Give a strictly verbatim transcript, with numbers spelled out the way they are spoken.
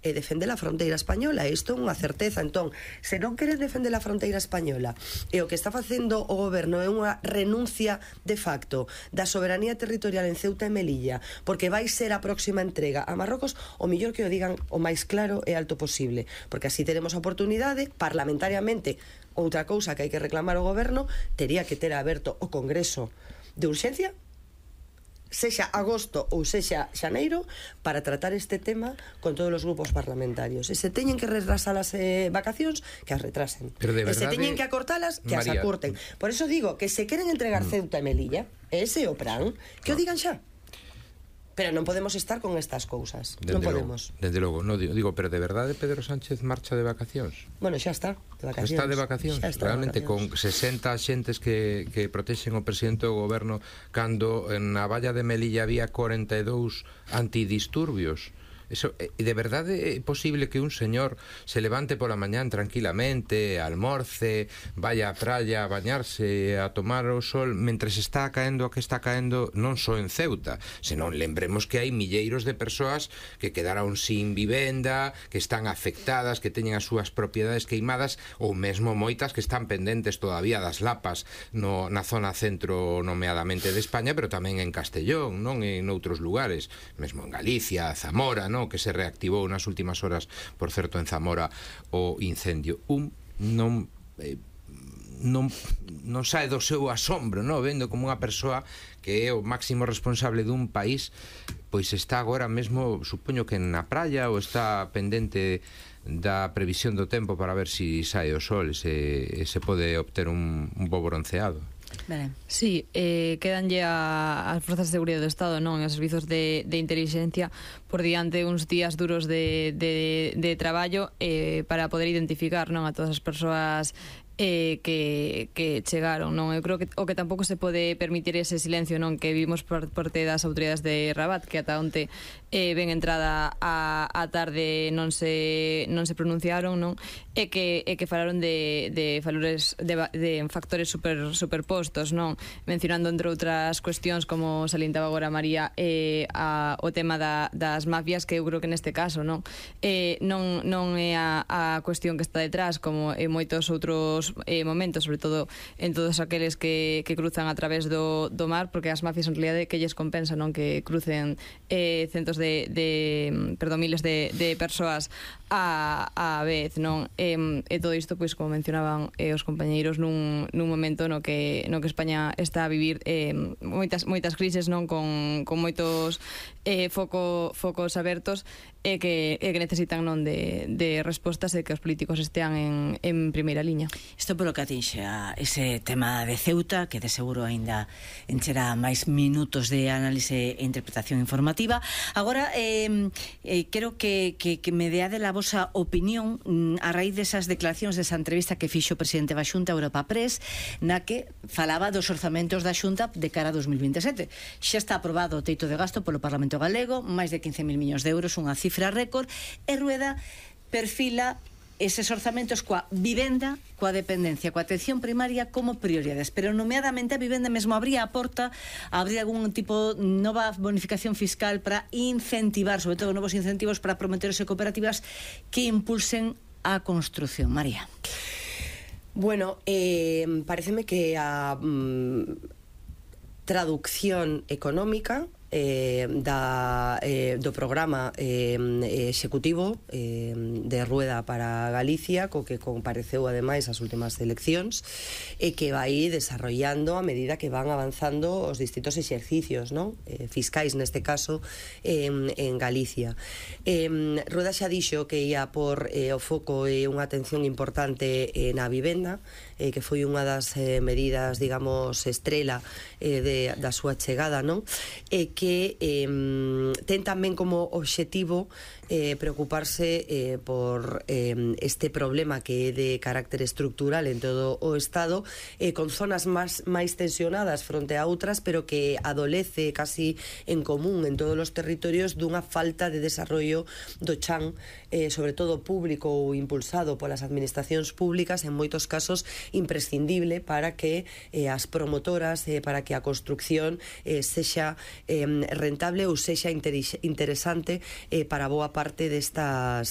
e defender a fronteira española. Isto é unha certeza. Entón, se non queren defender a fronteira española e o que está facendo o goberno é unha renuncia de facto da soberanía territorial en Ceuta e Melilla, porque vai ser a próxima entrega a Marrocos, o mellor que o digan o máis claro e alto posible, porque así teremos a oportunidade parlamentariamente. Outra cousa que hai que reclamar ao goberno, tería que ter aberto o Congreso de urxencia, sexa agosto ou sexa xaneiro, para tratar este tema con todos os grupos parlamentarios. E se teñen que retrasar as eh, vacacións, que as retrasen. Pero de verdade, e se teñen que acortalas, que María, as acorten. Por eso digo que se queren entregar mm. Ceuta e Melilla, ese é o plan, que no. o digan xa. Pero non podemos estar con estas cousas. Dende non podemos. Logo, dende logo, no, digo, digo, pero de verdade Pedro Sánchez marcha de vacacións? Bueno, xa está, de vacacións. Está de vacacións, está realmente, de vacacións. Con sesenta xentes que, que protexen o presidente do goberno, cando na valla de Melilla había cuarenta e dous antidisturbios. Eso, e de verdade é posible que un señor se levante pola mañán tranquilamente, almorce, vaya á praia a bañarse, a tomar o sol, mentres está caendo o que está caendo non só en Ceuta, senón lembremos que hai milleiros de persoas que quedaron sin vivenda, que están afectadas, que teñen as súas propiedades queimadas, ou mesmo moitas que están pendentes todavía das lapas no, na zona centro nomeadamente de España, pero tamén en Castellón, non en outros lugares, mesmo en Galicia, Zamora, non? Que se reactivou nas últimas horas, por certo, en Zamora, o incendio. Un non eh, non, non sae do seu asombro, non? Vendo como unha persoa que é o máximo responsable dun país, pois está agora mesmo, supoño que na praia, ou está pendente da previsión do tempo para ver se si sae o sol e se, e se pode obter un, un bo bronceado. Vale. Sí, eh, quedanlle a, as forzas de seguridade do Estado, non, os servizos de, de inteligencia por diante uns días duros de, de, de traballo eh, para poder identificar, non, a todas as persoas eh, que, que chegaron, non? Eu creo que o que tampouco se pode permitir ese silencio, non, que vimos por parte das autoridades de Rabat, que ata onte eh, ben entrada a, a tarde non se non se pronunciaron, non? E que e que falaron de de valores de, de factores super superpostos, non? Mencionando entre outras cuestións, como salientaba agora María, eh, a, o tema da, das mafias, que eu creo que neste caso, non? Eh, non non é a, a cuestión que está detrás, como en moitos outros Eh, momentos, sobre todo en todos aqueles que, que cruzan a través do, do mar, porque as mafias en realidade que lles compensa, non, que crucen eh, centos de, de perdón, miles de, de persoas a, a vez, non? E, e todo isto, pois, como mencionaban eh, os compañeiros, nun, nun momento no que, no que España está a vivir eh, moitas, moitas crises, non, con, con moitos eh, foco, focos abertos, e que, e que necesitan, non, de, de respostas, e que os políticos estean en, en primeira liña. Isto polo que atinxe a ese tema de Ceuta, que de seguro aínda encherá máis minutos de análise e interpretación informativa. Agora, eh, eh, quero que, que, que me deade a vosa opinión a raíz desas declaracións, desa entrevista que fixo o presidente da Xunta, Europa Press, na que falaba dos orzamentos da Xunta de cara a dos mil vinte e sete. Xa está aprobado o teito de gasto polo Parlamento Galego, máis de quince mil millóns de euros, unha cifra récord, e Rueda perfila eses orzamentos coa vivenda, coa dependencia, coa atención primaria como prioridades, pero nomeadamente a vivenda mesmo abría a porta a abrir algún tipo de nova bonificación fiscal para incentivar, sobre todo novos incentivos para promotoras e cooperativas que impulsen a construción. María. Bueno, eh, pareceme que a mm, traducción económica Eh, da, eh, do programa eh, executivo eh, de Rueda para Galicia, co que compareceu ademais as últimas eleccións, e que vai desarrollando a medida que van avanzando os distintos exercicios, non? Eh, fiscais neste caso eh, en Galicia. eh, Rueda xa dixo que ia por eh, o foco e unha atención importante eh, na vivenda, eh, que foi unha das eh, medidas, digamos, estrela eh, de, da súa chegada, non? E que eh, ten tamén como obxectivo eh, preocuparse eh, por eh, este problema que é de carácter estructural en todo o Estado, eh, con zonas máis, máis tensionadas fronte a outras, pero que adolece casi en común en todos os territorios dunha falta de desarrollo do chan, eh, sobre todo público ou impulsado polas administracións públicas, en moitos casos imprescindible para que eh, as promotoras, eh, para que a construcción eh, sexa eh, rentable ou sexa interesante eh, para boa parte destas